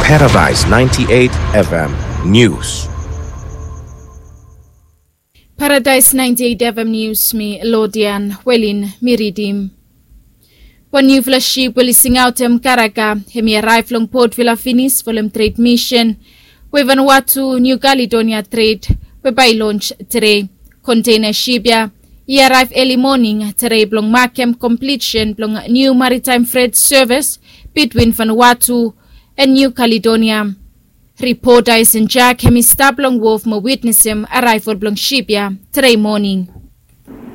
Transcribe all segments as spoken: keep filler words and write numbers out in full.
Paradise ninety-eight F M News. Paradise ninety-eight F M News, mi Lodian Welin mi ridim. Wan niufala sip we oli singaotem karaga, hemi araev long Port Vila finis folem tred misen we Vanuatu Niu Kaledonia tred we bae i lons tede. Kontena sip ya i araev eli moning tede blong makem komplisen blong niu maritaem fred sevis bitwin Vanuatu and Niu Kaledonia. Ripota Esen Jak hemi stap long wof mo witnesem araevol blong sip ya tede moning.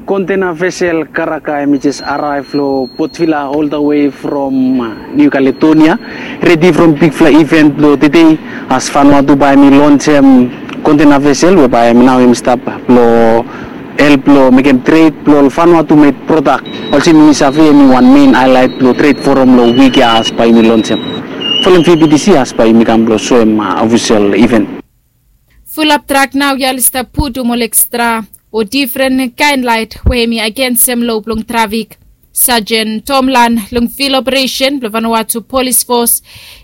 Kontena vesel karaga hemi jes araev long Port Vila oldawe from Niu Kaledonia, redi from bigfala iven blong tede, as Vanuatu bae hemi lonsem kontena vesel we bae hemi nao hemi stap blong help blong mekem tred blong ol Vanuatu med prodak. Olsem yumi save, hemi wan mein haelaet blong tred foram long wik ya as bae yumi lonsem folem V B T C, as bae yumi kam blong soem ofisel iven. Fulap trak naoia oli stap putum ol ekstra o difren kaen laet we hemi agensem loa blong trafik. Sajen Tom Lan long Fil Operesen blong Vanuatu Polis Fos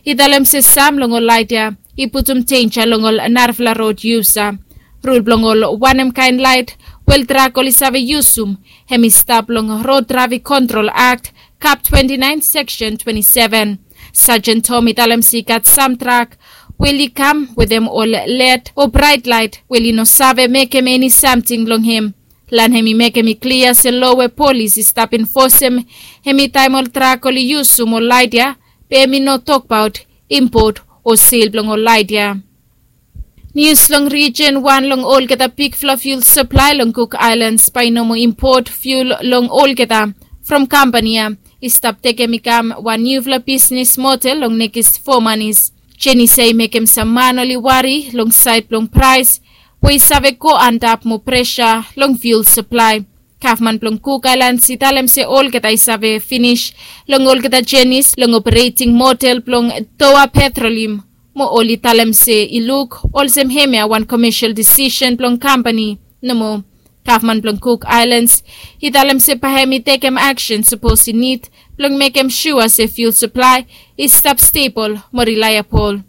i talem se sam long ol laet ya i putum denja long ol narafala rod yusa. Rul blong ol wanem kaen laet we ol trak oli save yusum, hemi stap long Rod Trafik Kontrol Akt, Kap twenti naen, Seksen twenti seven. Sajen Tom i talem se i gat sam trak we oli kam wetem ol led o braet laet we oli no save mekem eni samting long hem. Lan hemi mekem i klia se loa we polis i stap enfosem hemi taem ol trak oli yusum ol laet ya, be hemi no tokbaot impot o sel blong ol laet ya. Nius long rijen wan long olgeta bigfala fiul saplae long Cook Islands bae i no moa impot fiul long olgeta from kampani ya i stap tekem i kam wan niufala bisnes model long nekis fo manis. Jenis ya i mekem sam man oli wari long saed blong praes we i save go antap moa presa long fiul saplae. Gavman blong Cook Islands i talem se olgeta i save finis long olgeta jenis long opereting model blong Dowa Petroleum, mo oli talem se i luk olsem hemia wan komesel disisen blong kampani nomo. Gavman blong Cook Islands i talem se bae hem i tekem aksen sapos i nid blong mekem sua se fiul saplae i stap stebol mo rilaebol.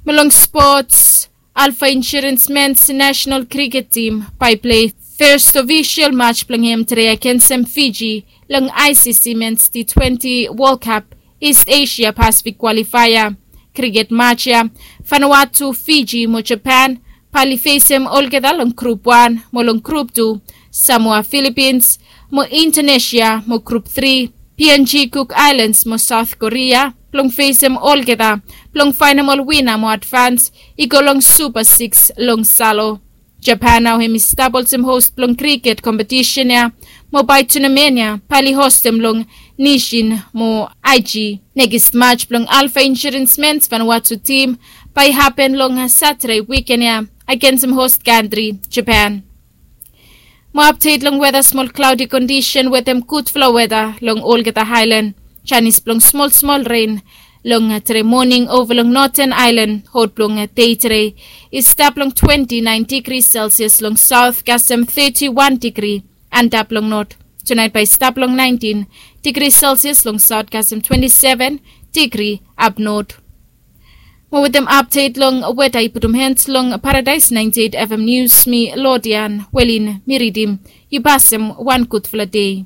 Mo long spots, Alpha Insurance Men's National Cricket Team bae i plei fes ofisel match blong hem tede agensem Fiji long I C C Men's T twenty World Cup East Asia Pacific Qualifier. Cricket match ya, Vanuatu, Fiji mo Japan bae oli fesem olgeta long grup wan, mo long grup tu, Samoa, Philippines mo Indonesia, mo grup tri, P N G, Cook Islands mo South Korea blong fesem olgeta blong faenem ol wina mo advans i go long Super Six long Salo. Japan nao hem i stap olsem hos blong kriket kompetisen ya, mo bae tunamen ya bae oli hostem long Nishin mo Aichi. Nekis match blong Alpha Insurance Men's Vanuatu tim bae i hapen long Satade wiken ya agensem hos kantri Japan. Mo apdet long weta, smol klaodi kondisen wetem gudfala weta long olgeta aelan. Janis blong smolsmol ren long tede moning ova long Noten Aelan. Hot blong dei tede i stap long twenti naen digri Selsias long saot kasem teti wan digri antap long not. Tunaet bae i stap long naentin digri Selsias long saot kasem twenti seven digri apnot. Mo wetem apdet long weta i putum hed long Paradaes naenti eit F M Nius, mi Lodian Welin mi ridim. Yu pasem wan gudfala dei.